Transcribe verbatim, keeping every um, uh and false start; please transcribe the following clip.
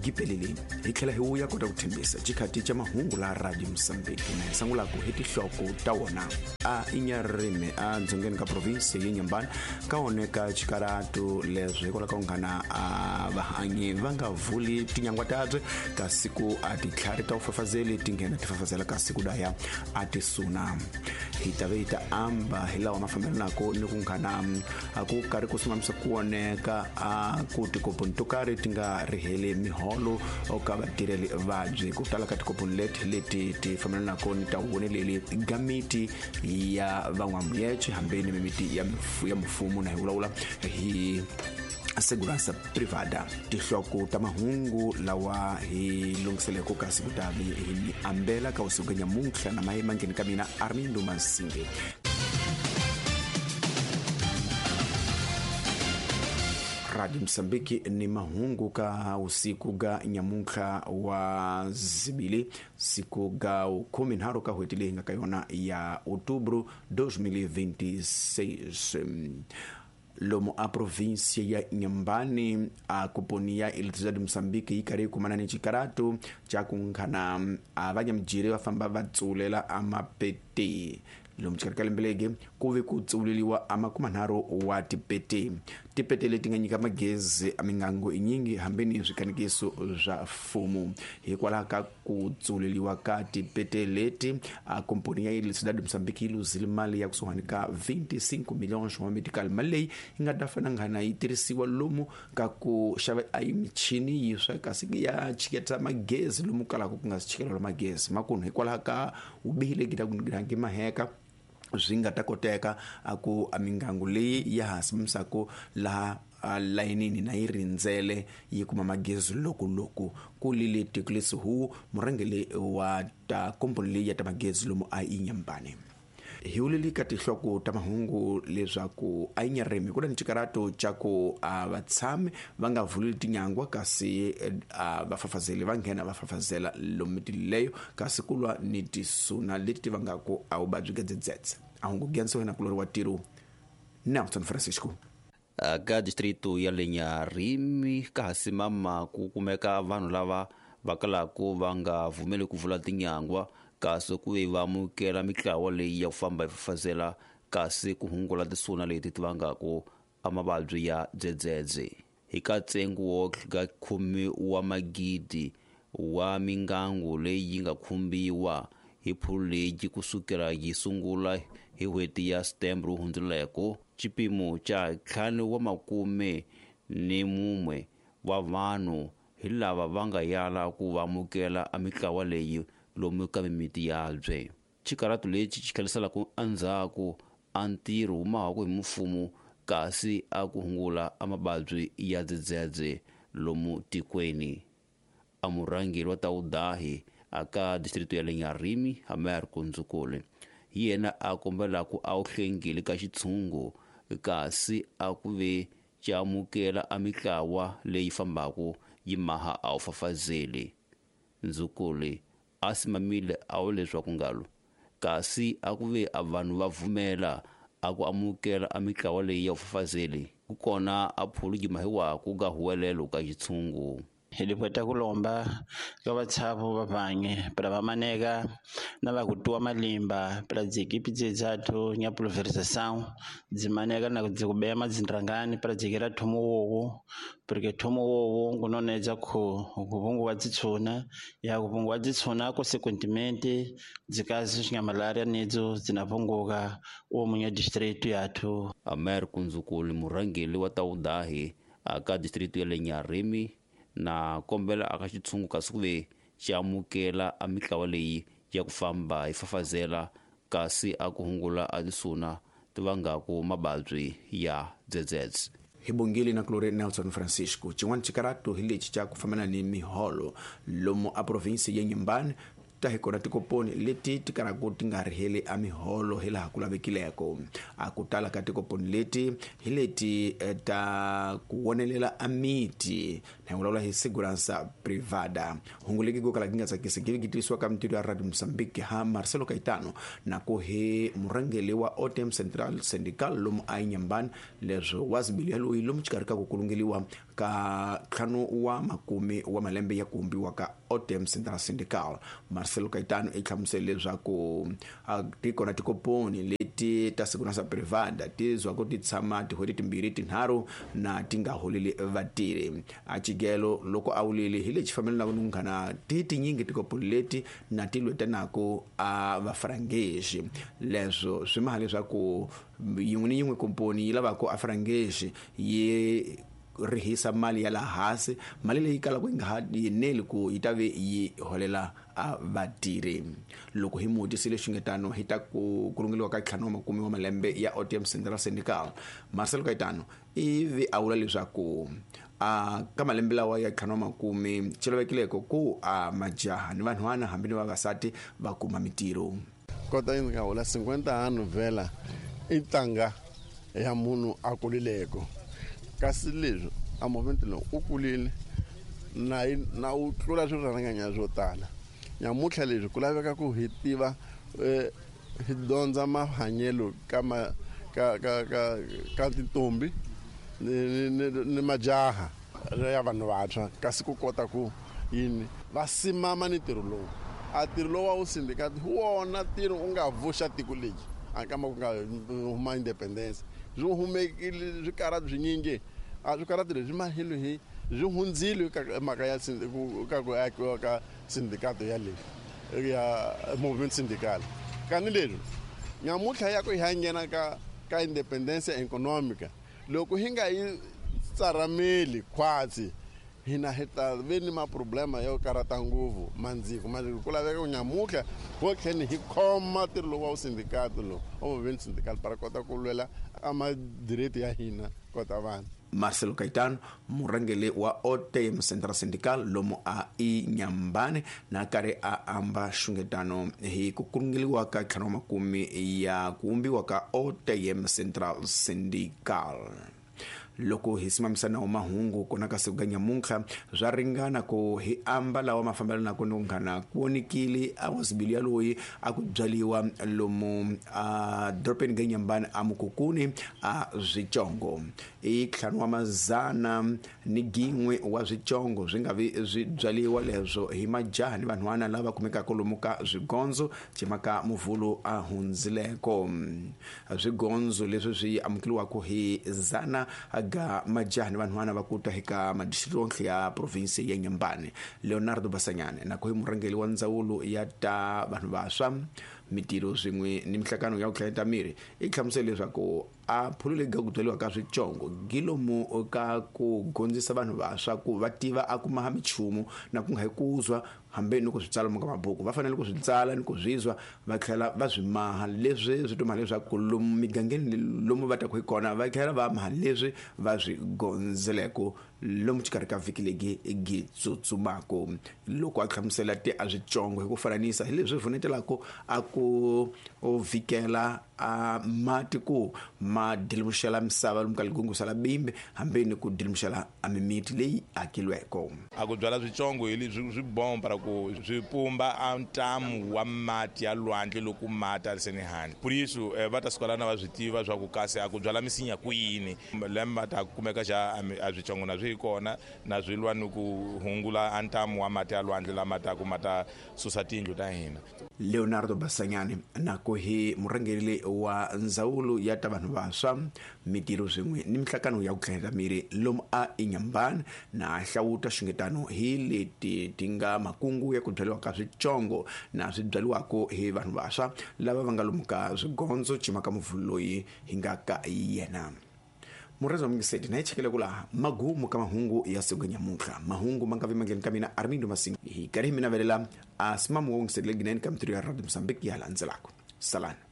Gipelele hi tlhela hi wuya kota ku thembisa xikhati xa mahungu la Radio Mozambique na hi sungulaka hi tinhloko ta wona a Inharime a dzongeni ka province ya Inhambane ka oneka xikaratu leswi hikwalaho ka nghana a vahanyi va nga vuli tinyangwa tabye kasi ku a titlhari ta ufafazeli ti nghena ti fafazela kasi ku daya a ti suna hi ta ve hi ta amba hi lawa ma fambelanaka ni ku nghana a ku karhi ku simamisa ku oneka a ku tikoponi to karhi ti nga riheli miholo ka vatirheli vabyi ku tala ka tikoponi leti leti ti fambelanaka ni ta voneleli ga miti ya van'wamuyece hambi ni mimiti ya ya mfumo na hi vulavula hi segurança privada. Tinhloko ta mahungu lawa hi lunghiseleke kasi kutavi hi mi ambela ka usiku nyamuntlha na maye mangheni ka mina Armindo Masinge. Radio Mozambique ni mahungu ka usiku ga nyamuntlha wa zibili siku ga kumi nharu ka hweti leyi nga ka yona ya outubro dois mil e vinte e seis. Lomo a província ya Inhambane a koponi ya Eletricidade de Moçambique yi karhi yi kumana ni xikaratu xa ku nghana a vanyamujiri va famba va tsulela a mapete lomu xikarhi ka lembe legi ku ve ku tsuleliwa a makumanharhu wa tipete tipete leti nga nyika magezi a mingango inyingi hambi ni swikanikiso swa mfumo hikwalaho ka ku tsuleliwa ka tipete leti a komponi ya Eletricidade de Moçambique yi luzile mali ya kusuhani ka vinte e cinco milhões wa medical mali leyi yi nga ta fana nghana yi tirhisiwa lomu ka ku xava a michini yiswa kasi ya chiketa magezi lomu kalaka ku nga si chikelelo magezi makunu hikwalaho ka vubihi legi ta ku ngi maheka swi nga ta koteka a ku a mingangu leyi ya ha simamisaka laha layinini na yi rindzele yi kuma magezi loko loko ku lile Tikulis Hu murhangeri wa ta komponi leyi ya ta magezi lomu a Inhambane. Hi wuleli ka tinhloko ta mahungu leswaku a Inharime ku na ni xikarato xa ku a vatshami va nga vuleli tinyangwa kasi a vafafazeli va nghena va fafazela lomu leyo kasi ku lwa ni tisuna leti ti vangaku a vuvabyi bya dzedzedze. A hungu gyanso wena kulori wa tiro Nelson Francisco. Ka distrito ya le Inharime ka ha simama ku kumeka vanhu lava va kalaku va nga vumeli ku vula tinyangwa kasi ku ve va amukela mitlawa leyi ya ku famba yi fafazela kasi ku hungula tisuna leti ti vangaku a mavabyi ya dzedzedze. Hi ka ntsengo wo ka khume wa magidi wa mingangu leyi yi nga khumbiwa hi phulu leyi kusukela yi sungula hi n'hweti ya September wu hundzuleko xipimo xa ntlhanu wa makume ni mumwe wa vanhu hi lava va nga yala ku va amukela a mitlawa leyi lomu ka mimiti yabye. Xikaratu lexi xi tlheliselaka endzhaku a ntirho wu mahaku hi mfumo kasi a ku hungula a mavabyi ya dzedzedze lomu tikweni. A murhangeri wa tawudahi aka distrito ya le Inharime Amer Kunzukule hi yena a kombelaku a wu hlengile ka xitshungu kasi a ku ve xi amukela a mitlawa leyi fambaku yi maha a wu fafazeli. Ndzukule a simamile a wu leswaku ngalo kasi a ku ve a vanhu va vumela a ku amukela a mitlawa leyi ya ufafazeli ku kona a phulu yi mahiwaku ka huwelelo ka xitshungu. Hi lipweta kulomba ka vatshavu va vange para va maneka na va ku tuwa malimba para dziekipi dzedzathu nya pulverização dzimaneka na dzikubeya madzindrangani para dzikira thomo wowo porque thomo wowo ngunonedza ku kuvunguwa dzitshuna ya kuvunguwa dzitshuna consequentemente dzikazi nya malaria nedzo dzinapunguka uwo munya distrito yathu. Amer Kunzukuli murhangeri wa tawudahi aka distrito ya le Inharime na kombela aka xitshungu kasi ku ve xi amukela a mitlawa leyi ya ku famba yi fafazela kasi a ku hungula a tisuna ti vangaku mavabyi ya dzedzedze. Hi bongile na kulori Nelson Francisco. Xin'wana xikaratu hi lexi xa ku fambana ni miholo lomu a province ya Inhambane ta hi kona tikoponi leti ti karaka ti nga riheli a miholo hi laha ku lavekileko. A ku tala ka tikoponi leti hi leti ta ku wonelela a miti na hi vulavula hi segurança privada. Hungu legi ko kala gi nga tsakisi gi tivisiwa ka mintirho ya Radio Mozambique ha Marcelo Caetano na ku hi murhangeri wa O T M Central Syndical lomu a Inhambane leswi wa zibili ya loyi lomu xikarhi ka ku kulungeliwa ka ntlhanu wa makume wa malembe ya ku vumbiwa ka O T M Central Syndical. Marcelo Caetano i hlamusele leswaku ti kona tikoponi leti ta segurança privada ti zwaku ti tshama tin'hweti timbirhi tinharhu na ti nga holeli vatirhi. A Chigelo loko a wulile hi lexi fambelanaka ni munghana ti tinyingi tikoponi leti na ti lwetanaka a vafrangexi. Leswo swi maha leswaku yin'we ni yin'we komponi yi lavaka a frangexi yi rihisa mali ya la hansi, mali leyi kalaka yi nga ha yeneli ku yi ta ve yi holela a vatirhi. Loko hi mutisile xingetano hi ta ku kurungeliwa ka ntlhanu wa makume wa malembe ya O T M Central Syndical, Marcelo Caetano ivi a vula leswaku a ka malembe lawa ya ntlhanu wa makume xi lavekileko ku a majaha ni vanhwana hambi ni vavasati va kuma mitirho. Kota yi nga hola cinquenta anos vela i ntanga ya munhu a kulileko, kasi leswi a movement lowu u kulile na na u tlula swirharanganya swo tala. Nyamutlha leswi ku laveka ku hi tiva hi dyondza mahanyelo ka ma ka ka ka ka tintombi ni ni ni majaha ya vanhu vantshwa, kasi ku kota ku yini va simama ni ntirho lowu. A ntirho lowu wa wu sindikati hi wona ntirho u nga vuxa tiko leri a kama ku nga huma independence swi humekile swikarati swinyingi a swikarati leswi mahelo hi swi hundzile ka mhaka ya ka ku akiwa ka sindikato ya leyi ya movement syndical. Kani leswi nyamutlha ya ku hi ya nghena ka ka independence economica loko hi nga yi tsarameli khwatsi hina hi ta ve ni maproblema yo karata ngopfu mandziko mandziko ku laveka ku nyamutlha ho tlheni hi khoma ntirho lowu wa wu sindikato lowu wa movement syndical para kota ku lwela a madireti ya hina kota vanhu. Marcelo Caetano murhangeri wa O T M Central Syndical lomu a Inhambane na karhi a amba xungetano hi ku kurungeliwa ka ntlhanu wa makume ya ku vumbiwa ka O T M Central Syndical. Loko hi simamisa nawu mahungu kona ka siku ka nyamuntlha swa ringana ku hi amba lawa ma fambelanaka ni munghana ku vonikile a wasibili yaloyi a ku byaliwa lomu a dorobeni ga Inhambane a Mukukuni a Swicongo. I ntlhanu wa mazana ni gin'we wa swicongo swi nga vi swi byaliwa leswo hi majaha ni vanhwana lava kumekaka lomu ka swigondzo cimaka muvhulu a hundzileko. Swigondzo leswi swi amukeliwaka hi zana ga majaha ni vanhwana va kuta eka madistrikti ya province ya Inhambane. Leonardo Basanyane na ku hi murhangeri wa ndzawulo ya ta vanhu vantshwa mitirho swin'we ni mihlangano ya ku hlayeta miri i hlamusele leswaku a phulule ga ku byaliwa ka swicongo gilomu ka ku gondzisa vanhu vantshwa ku va tiva a kuma ha michumu na ku nga hi kuzwa hambi ni ku swi tsala ka mabuku va fanele ku swi tsala ni ku zwizwa va tlhela va swi maha leswi swi tuma leswaku lomu migangeni lomu va taku hi kona va tlhela va maha leswi va swi gondzeleko lomu xikarhi ka vhiki legi gi tsutsumako. Loko a hlamusela ti a swicongo hi ku fananisa hi leswi vunetelaka a ku vhikela a mati ku ma dilimuxela misava lomu ka ligungusa la bimbi hambi ni ku dilimuxela a mimiti leyi akilweko. A ku byala swicongo hi leswi swi bomba ku swi pumba a ntamu wa mati ya lwandle loko mati a ri seni handle. Por isso va ta suka lana va swi tiva swa ku kasi a ku byala misinya kwini lembe ta kumeka xa a swicongo na swi kona na swi lwa ni ku hungula a ntamu wa mati ya lwandle lama ta ku ma ta susa tindlu ta hina. Leonardo Basanyane na ku hi murhangeri wa ndzawulo ya ta vanhu vantshwa mitirho swin'we ni mihlangano ya ku tlhela miri lomu a Inhambane na hlawuta xungetano hi leti ti nga makungu ya ku byaliwa ka swicongo na swi byaliwaka hi vanhu vantshwa lava va nga lomu ka swigondzo cimaka muvhulu loyi hi nga ka yena. Mureza mungiseti na hi chekele ku laha magumu ka mahungu ya siku nyamuntlha. Mahungu ma nga vi mangheni ka mina Armindo Masinga hi karhi hi mina velela a simamu wa mungiseti leginene ka mitirho ya Radio Mozambique ya landzelaka. Salani.